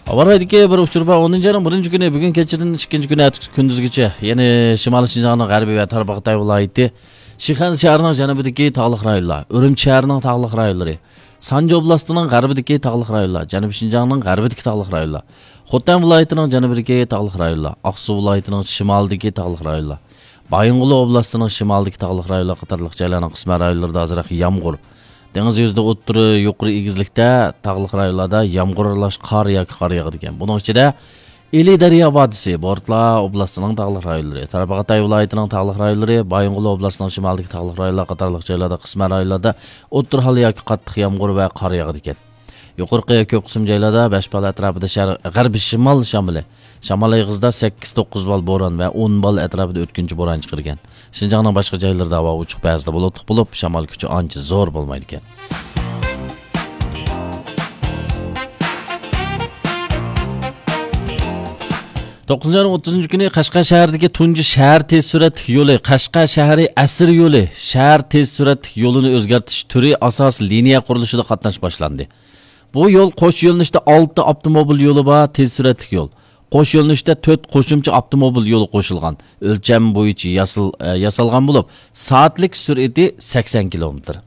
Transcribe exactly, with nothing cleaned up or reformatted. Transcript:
ھاۋا رايىدىكى بىر ئۇچۇر بار. ئونىنچى ئاينىڭ بىرىنچى كۈنى، بۈگۈن كەچتىن ئىككىنچى كۈنى ئەتىسى كۈندۈزگىچە، يەنى شىمالىي شىنجاڭنىڭ غەربى ۋە تارباغاتاي ۋىلايىتى، شىخەنزە شەھىرىنىڭ جەنۇبىدىكى تاغلىق رايونلار، ئۈرۈمچى شەھىرىنىڭ تاغلىق رايونلىرى، سانجى ئوبلاستىنىڭ غەربىدىكى تاغلىق رايونلار، جەنۇبىي شىنجاڭنىڭ غەربىدىكى تاغلىق رايونلار، خوتەن ۋىلايىتىنىڭ جەنۇبىدىكى تاغلىق رايونلار، ئاقسۇ ۋىلايىتىنىڭ شىمالىدىكى تاغلىق رايونلار، بايىنغولى ئوبلاستىنىڭ شىمالىدىكى تاغلىق رايونلار قاتارلىق جايلارنىڭ قىسمەن رايونلىرىدا ئازراق يامغۇر، دېڭىز يۈزىدە ئوتتۇرا يۇقىرى ئېگىزلىكتە، تاغلىق رايونلاردا يامغۇر ئارىلاش قار ياكى قار ياغىدىكەن. بۇنىڭ ئىچىدە ئىلى دەريا ۋادىسى، بورتلا ئوبلاستىنىڭ تاغلىق رايونلىرى، تارباغاتاي ۋىلايىتىنىڭ تاغلىق رايونلىرى، بايىنغولى ئوبلاستىنىڭ شىمالىدىكى تاغلىق رايونلار قاتارلىق جايلاردا، قىسمەن رايونلاردا ئوتتۇرا ھال ياكى قاتتىق يامغۇر ۋە قار ياغىدىكەن. يۇقىرىقى كۆپ قىسىم جايلاردا بەش بال ئەتراپىدا شەرق، غەربىي شىمال شامىلى، شامال ئېغىزىدا سەككىز توققۇز بال بوران ۋە ئون بال ئەتراپىدا ئۆتكۈنچى بوران چىقىرگەن. شىنجاڭنىڭ باشقا جايلىرىدا ھاۋا ئوچۇق، بەزىدە بۇلۇتلۇق بولۇپ، شامال كۈچى ئانچە زور بولمايدىكەن. توققۇزىنچى ئاينىڭ ئوتتۇزىنچى كۈنى قەشقەر شەھىرىدىكى تۇنجى شەھەر تېز سۈرئەتلىك يولى، قەشقەر شەھىرى ئەسىر يولى شەھەر تېز سۈرئەتلىك يولىنى ئۆزگەرتىش تۈرى ئاساسىي لىنىيە قۇرۇلۇشىدا قاتناش باشلاندى. بۇ يول قوش يۆنىلىشتە ئالتە ئاپتوموبىل يولى بار تېز سۈرئەتلىك يول. قوش يۆنىلىشتە تۆت قوشۇمچە ئاپتوموبىل يولى قوشۇلغان. ئۆلچەم بويىچە ياسىل-، ئە، ياسالغان بولۇپ، سائەتلىك سۈرئىتى سەكسەن كىلومېتىر.